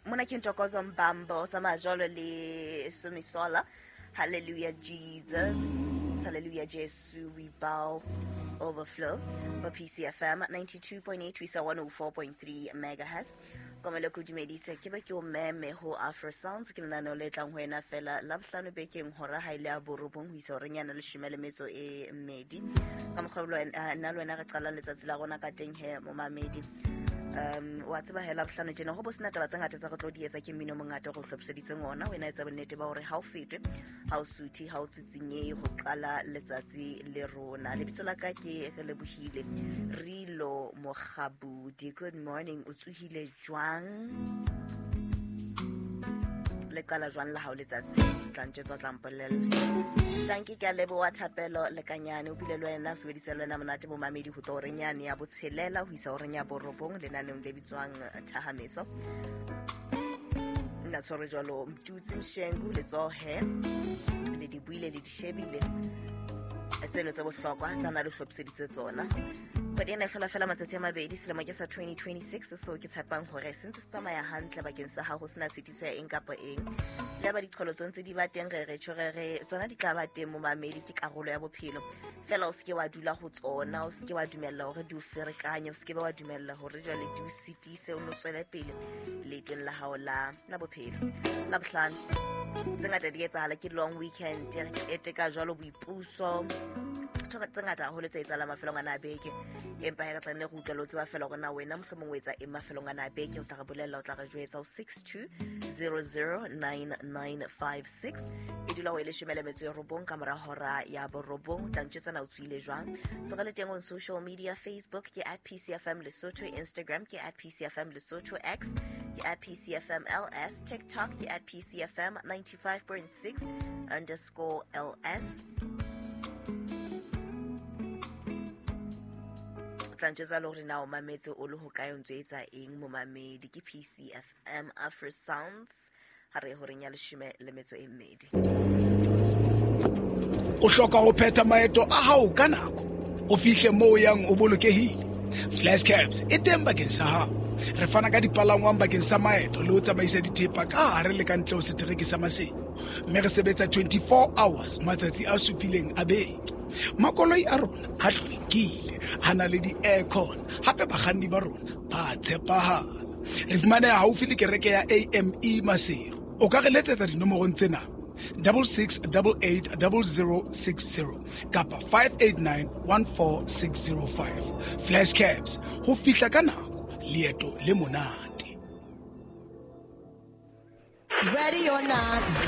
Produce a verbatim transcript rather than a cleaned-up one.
Mona ke Ntokozo Mbambo, tsamaya jwalo le Somisola. Hallelujah Jesus, hallelujah Jesu, we bow overflow. For P C F M ninety-two point eight, we saw one oh four point three megahertz. Komelo ke dumedise ke be ke o meme ho Afro Sounds ke lenaneo le tlang ho wena fela la bohlano bekeng hora ha ile ya borobong ho isa horeng ya leshome le metso e mmedi. Ka mokgwa nna le wena re qalang letsatsi la rona ka teng he momamedi. Um wa tseba hela bohlano tjena ho bo sena taba tse ngata tsa re tlo di etsa ke mmino mongata go hlophiseditseng ona wena etsa bonnete ba hore ha o fetwe ha o suthi ha o tsitsinye ho qala letsatsi le rona. Lebitso la ka ke re lebohile Rilo Mokgabudi. Good morning, o tsohile jwang? Le qala jwang la hao letsatsi? Tla ntjetsa tla mpolella. Tanki ke a leboha Thapelo Lekanyane o bile le wena o sebedisa le wena monate momamedi ho tlo horeng yane ya botshelela ho isa horeng ya borobong lenaneong le bitswang Thahameso. Nna tshwere jwalo Mtutsi Mshengu letsohe le di buile le di shebile tseno tse bohlokwa tsa na le hlophiseditse tsona. Kgwedi ena e hlola fela matsatsi a mabedi selemo ke sa twenty twenty-six so ke tshepang hore se ntse se tsamaya hantle bakeng sa hao ho sena tshitiso ya eng kapa eng. Le ba diqholotso ntse di ba teng re re tjho re re tsona di tla ba teng momamedi ke karolo ya bophelo. Fela o seke wa dula ho tsona, o seke wa dumella hore di o ferekanye, o seke wa dumella hore jwale di o sitise o no tswele pele leetong la hao la la bophelo. La bohlano tse ngata di etsahala ke long weekend re keteka jwalo boipuso tse ngata haholo tse etsahalang mafelong ana a beke empa he re tla nne re utlwela o tseba fela hore na wena mohlomong o etsa eng mafelong ana a beke. O tla re bolella, o tla re jwetsa ho six two zero zero nine nine five six e dula ho e leshome le metso e robong ka mora hora ya borobong. O tla ntjwetsa na o tsohile jwang. Tse re le teng on social media, Facebook ke at P C F M Lesotho, Instagram ke at P C F M Lesotho, X ke at P C F M L S, TikTok ke at P C F M ninety-five point six underscore L S. Tla ntjwetsa le hore na o mametse o le hokae o ntso etsa eng momamedi. Ke P C F M Afro Sounds ha re horeng ya leshome le metso e mmedi. O hloka ho phetha maeto a hao ka nako, o fihle moo o yang o bolokehile. Flash Cabs e teng bakeng sa hao. Re fana ka dipalangwang bakeng sa maeto le ho tsamaisa dithepa ka hare le ka ntle ho setereke sa Maseru, mme re sebetsa twenty-four hours matsatsi a supileng a beke. Makoloi a rona a hlwekile, a na le di-aircon, hape bakganni ba rona ba tshepahala. Re fumaneha haufi le kereke ya A M E Maseru. O ka re letsetsa dinomorong tsena double six double eight double zero six zero kapa five eight nine one four six zero five. Flash Cabs, ho fihla ka nako, leeto le monate. Ready or not,